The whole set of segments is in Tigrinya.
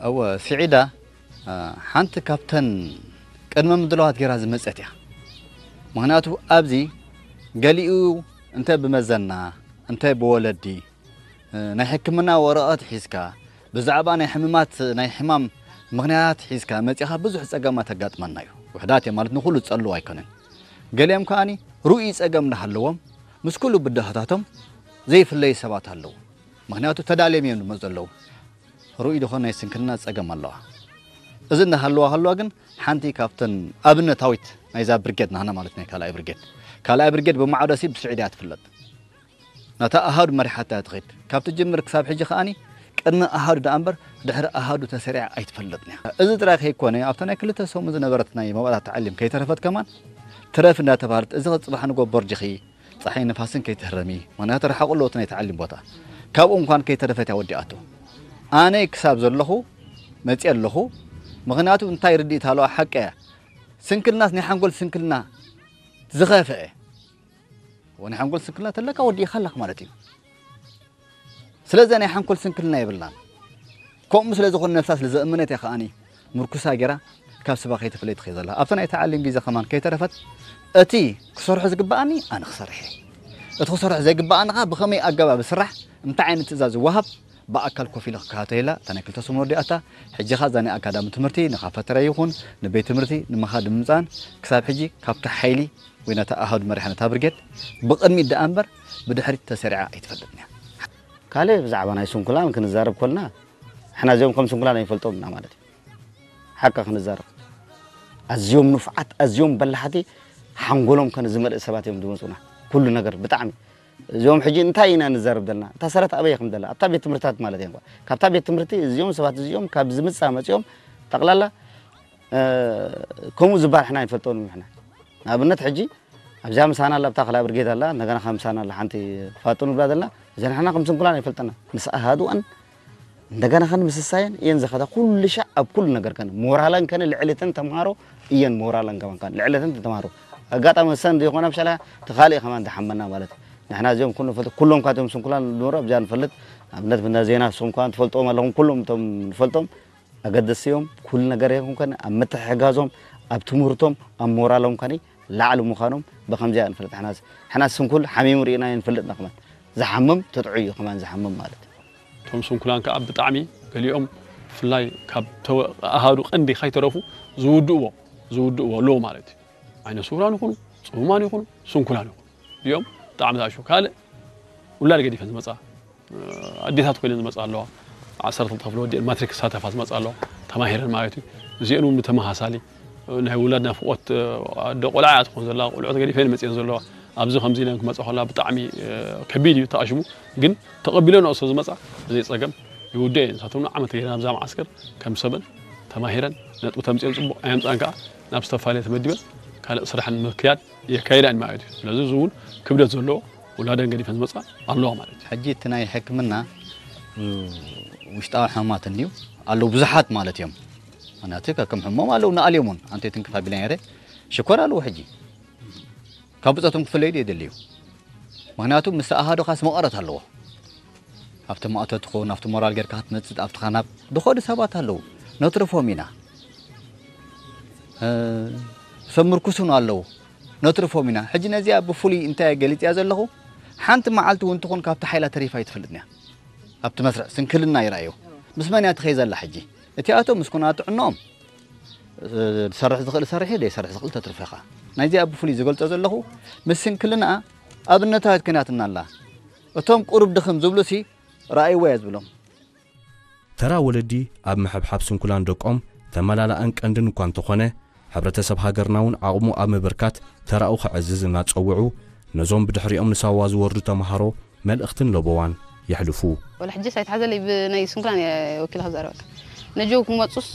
እወ፣ ስዒዳ፣ እ፣ ሓንቲ ካብተን ቅድመ ምድላዋት ገይራ ዝመጸት እያ። ምኽንያቱ ኣብዚ ገሊኡ እንተ ብመዘና፣ እንተ ብወለዲ፣ እ፣ ናይ ሕክምና ወረቐት ሒዝካ፣ ብዛዕባ ናይ ሕምማት፣ ናይ ሕማም ምኽንያት ሒዝካ መጺኻ ብዙሕ ጸገማት ኣጋጥመና እዩ። ውሕዳት እየ ማለት ንኹሉ ዝጸልው ኣይኮነን። ገሊኦም ከኣኒ ርኡይ ጸገም እናሃለዎም ምስ ኩሉ ብድሆታቶም ዘይፍለዩ ሰባት ኣለዉ። ምኽንያቱ ተዳልዮም እዮም ዝመጹ ዘለዉ። ርኡይ ዝኾነ ናይ ስንክልና ጸገም ኣለዋ። እዚ እናሃለዋ ሃለዋ ግን ሓንቲ ካብተን ኣብነታዊት ናይዛ ብርጌድ ናህና ማለት ናይ ካልኣይ ብርጌድ። ካልኣይ ብርጌድ ብማዕዶ ሲ ብስዒድ እያ ትፍለጥ። ነታ ኣሃዱ መሪሓታ እያ ትኸይድ። ካብ ትጅምር ክሳብ ሕጂ ከኣኒ ቅድሚ ኣሃዱ ደኣ እምበር ድሕሪ ኣሃዱ ተሰሪዓ ኣይትፈልጥን እያ። እዚ ጥራይ ከይኮነ ኣብታ ናይ ክልተ ሰሙን ዝነበረት ናይ መባእታ ተዓሊም ከይተረፈት ከማን ትረፍ እንዳተባህለት እዚ ጽባሕ ንጎ ቦርጅኺ ጸሓይ ንፋስን ከይትህረሚ፣ ምኽንያቱ ርሓቑ ኣለዎ እቲ ናይ ተዓሊም ቦታ። ካብኡ እንኳን ከይተረፈት እያ ወዲኣቶ። ኣነ ክሳብ ዘለኹ መጺአ ኣለኹ። ምኽንያቱ እንታይ ርድኢት ኣለዋ ሓቂ እያ። ስንክልናስ ናይ ሓንጎል ስንክልና ዝኸፍአ። እወ፣ ናይ ሓንጎል ስንክልና ተለካ ወዲእኻ ኣለኻ ማለት እዩ። ስለዚ ናይ ሓንጎል ስንክልና የብላን። ከምኡ ስለ ዝኾነ ነብሳ ስለ ዘእመነት እያ ከኣኒ ምርኩሳ ገይራ ካብ ስባ ከይተፈለየት ትኸይድ ዘላ። ኣብታ ናይ ተዓሊም ቪዛ ከማን ከይተረፈት እቲ ክሰርሖ ዝግበኣኒ ኣነ ክሰርሕ እየ። እቲ ክሰርሖ ዘይግበኣኒ ኸዓ ብኸመይ ኣገባብ ዝስራሕ፣ እንታይ ዓይነት ትእዛዝ ዝወሃብ ብኣካል ኮፍ ኢለ ክከታተላ እታ ናይ ክልተ ሰሙን ወዲኣታ። ሕጂ ኸዓ እዛ ናይ ኣካዳሚ ትምህርቲ ንኻፈተራ ይኹን ንቤት ትምህርቲ ንምኻድ ንምምፃን ክሳብ ሕጂ ካብታ ሓይሊ ወይ ነታ ኣሃዱ መሪሓ ነታ ብርጌድ ብቕድሚት ደኣ እምበር ብድሕሪት ተሰሪዓ ኣይትፈልጥን እያ። ካልእ ብዛዕባ ናይ ስንኩላን ክንዛረብ ኮልና፣ ንሕና እዚኦም ከም ስንኩላን ኣይንፈልጦም ኢና ማለት እዩ። ሓቂ ክንዛረብ፣ ኣዝዮም ንፉዓት፣ ኣዝዮም በላሕቲ፣ ሓንጎሎም ከነ ዝመልእ ሰባት እዮም ዝመፁና። ኩሉ ነገር ብጣዕሚ እዚኦም ሕጂ እንታይ ኢና ንዛረብ ዘለና? እታ ሰረት ኣበይ ከም ዘላ ኣብታ ቤት ትምህርትታት ማለት እዮም። ካብታ ቤት ትምህርቲ እዚኦም ሰባት እዚኦም ካብ ዝምፃ መፂኦም ጠቕላላ እ፣ ከምኡ ዝበሃል ሕና ኣይንፈልጦን ሕና። ንኣብነት ሕጂ ኣብዚኣ ምሳና ኣላ፣ ኣብታ ካልኣ ብርጌድ ኣላ፣ እንደገና ካብ ምሳና ኣላ ሓንቲ ፋጡን ንብላ ዘለና፣ እዘን ሕና ከም ስንኩላን ኣይፈልጠና። ምስ ኣሃዱኣን እንደገና ከን ምስሳየን እየን ዝኸዳ ኩሉ ሻዕ ኣብ ኩሉ ነገር ከን ሞራለን ከን ልዕልትን ተምሃሮ እየን ሞራለን ከማን ከን ልዕልትን ተምሃሮ። ኣጋጣሚ እሰን ዘይኮና ብሻላ ተኻልእ ከማን ዝሓመና ማለት እዩ። ንሕና እዚኦም ኩሉ ንፈልጥ፣ ኩሎም ካቶም ስንኩላን ንብሎ ኣብዚኣ ንፈልጥ። ኣብነት ብና ዜና ንስኹም ከማን ትፈልጥዎም ኣለኹም፣ ኩሎም እቶም ንፈልጦም ኣገደስቲ እዮም። ኩሉ ነገር ይኹን ከነ ኣብ ምትሕግጋዞም፣ ኣብ ትምህርቶም፣ ኣብ ሞራሎም ከነ ላዕሊ ምዃኖም ብኸምዚኣ ንፈልጥ። ሕናስ፣ ሕናስ ስንኩል ሓሚሙ ርኢና ንፈልጥ ንኽመን። ዝሓምም ተጥዑ እዩ ከማን ዝሓምም ማለት እዩ። እቶም ስንኩላን ከኣ ብጣዕሚ ገሊኦም ብፍላይ ካብ ተወ-፣ ኣሃዱ ቀንዲ ከይተረፉ ዝውድእዎ፣ ዝውድእዎ ኣለዎ ማለት እዩ። ዓይነ ስውራን ይኹኑ፣ ጽሙማን ይኹኑ፣ ስንኩላን ይኹኑ። እዚኦም ብጣዕሚ ዝኣሹ። ካልእ ውላድ ገዲፈን ዝመጻ፣ ኣዴታት ኮይነን ዝመጻ ኣለዋ። ዓሰርተ ክልተ ክፍሊ ወዲአን ማትሪክ ክሳተፋ ዝመጻ ኣለዋ። ተማሂረን ማለት እዩ። እዚአን እውን ብተመሳሳሊ ናይ ውላድ ናፍቆት፣ ኣደ ቆልዓ እያ ትኾን ዘላ፣ ቆልዑ ተገዲፈን መጺአን ዘለዋ። ኣብዚ ከምዚ ኢለን ክመጻ ከላ ብጣዕሚ፣ እ፣ ከቢድ እዩ ተኣሽሙ። ግን ተቐቢለንኦ ስለ ዝመጻ ብዘይ ጸገም ይውድእ እየን። ንሳቶም ንዓመት ገይረን ኣብዛ መዓስከር ከም ሰበን ተማሂረን ነጥቢ ተምጺአን ጽቡቕ ኣየምጻን ከኣ ናብ ዝተፈላለየ ተመዲበን ካልእ ስራሕን ምክያድ የካይዳ እየን ማለት እዩ። ስለዚ እዚ እውን ክብደት ዘለዎ ውላደን ገዲፈን ዝመጻ ኣለዋ ማለት እዩ። ሕጂ እቲ ናይ ሕክምና፣ እ፣ ውሽጣዊ ሕማማት እንድዩ ኣለዉ ብዙሓት ማለት እዮም። ምኽንያቱ ከከም ሕሞም ኣለዉ ንኣልዮም እውን ኣንተ ትንክፍ ኣቢለ ነይረ ሽኮር ኣለዉ ሕጂ ካብ ብጾቶም ክፍለዩ ድዩ የድልዩ? ምኽንያቱ ምስ ኣሃዱ ካስ መቐረት ኣለዎ። ኣብቲ ማእቶ ትኾን፣ ኣብቲ ሞራል ጌርካ ክትመጽእ፣ ኣብቲ ኻናብ ድኾዱ ሰባት ኣለዉ። ነትርፎም ኢና። እ፣ ሰብ ምርኩስ እውን ኣለዉ። ነትርፎም ኢና። ሕጂ ነዚኣ ብፍሉይ እንታይ ገሊጽያ ዘለኹ? ሓንቲ መዓልቲ እውን ትኹን ካብቲ ሓይላ ተሪፋ ኣይትፈልጥን እያ። ኣብቲ መስርዕ ስንክልና ይረኣዮ። ምስ መን እያ ትኸይ ዘላ ሕጂ? እቲኣቶም ምስ ኩነታት ጥዕንኦም፣ እ፣ ዝሰርሕ ዝኽእል ሰርሕ፣ ዘይሰርሕ ዝኽእል ተትርፎ ኢኻ። ናይዚኣ ብፍሉይ ዝገልጾ ዘለኹ፣ ምስ ስንክልናኣ ኣብነታዊት ኮይናትና ኣላ። እቶም ቁሩብ ድኽም ዝብሉሲ ረኣይዎ እየ ዝብሎም። ተራ ወለዲ ኣብ ምሕብሓብ ስንኩላን ደቆም ተመላላእን ቀንድን እኳ እንተኾነ፣ ሕብረተሰብ ሃገርና እውን ዓቕሙ ኣብ ምብርካት ተራኡ ከዕዝዝ እናጸውዑ፣ ነዞም ብድሕሪኦም ንሳዋ ዝወርዱ ተምሃሮ መልእኽትን ለበዋን የሕልፉ። ወላ ሕጂስ ኣይትሓዘለይ፣ ብናይ ስንኩላን እየ ወኪለ ክዛረበካ። ነጀው ክመጹስ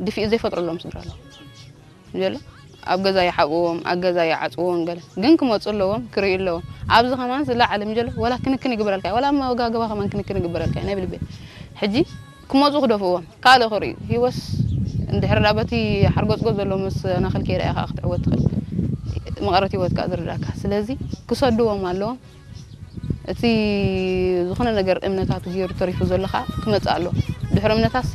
ድፊኡ ዘይፈጥረሎም ስድራ ኣለዉ። ምጀሎ ኣብ ገዛ ይሓብዎም፣ ኣብ ገዛ ይዓጽዎም ገለ። ግን ክመጹ ኣለዎም፣ ክርእዩ ኣለዎም። ኣብዚ ከማን ዝለዓለ ምጀሎ ወላ ክንክን ይግበረልካ፣ ወላ ኣብ መጋገባ ከማን ክንክን ይግበረልካ፣ ናይ ብልቤ። ሕጂ ክመጹ ክደፍእዎም፣ ካልእ ክርእዩ። ህይወስ እንድሕር ደኣ በቲ ሓርጎጽጎጽ ዘሎ መሰናኽል ከይረኣኻ ክትዕወት ትኽእል። መቐረት ህይወትካ ዝርዳእካ። ስለዚ ክሰድዎም ኣለዎም። እቲ ዝኾነ ነገር እምነታቱ ገይሩ ተሪፉ ዘሎ ኸዓ ክመጽእ ኣለዎ። ድሕሪ እምነታትሲ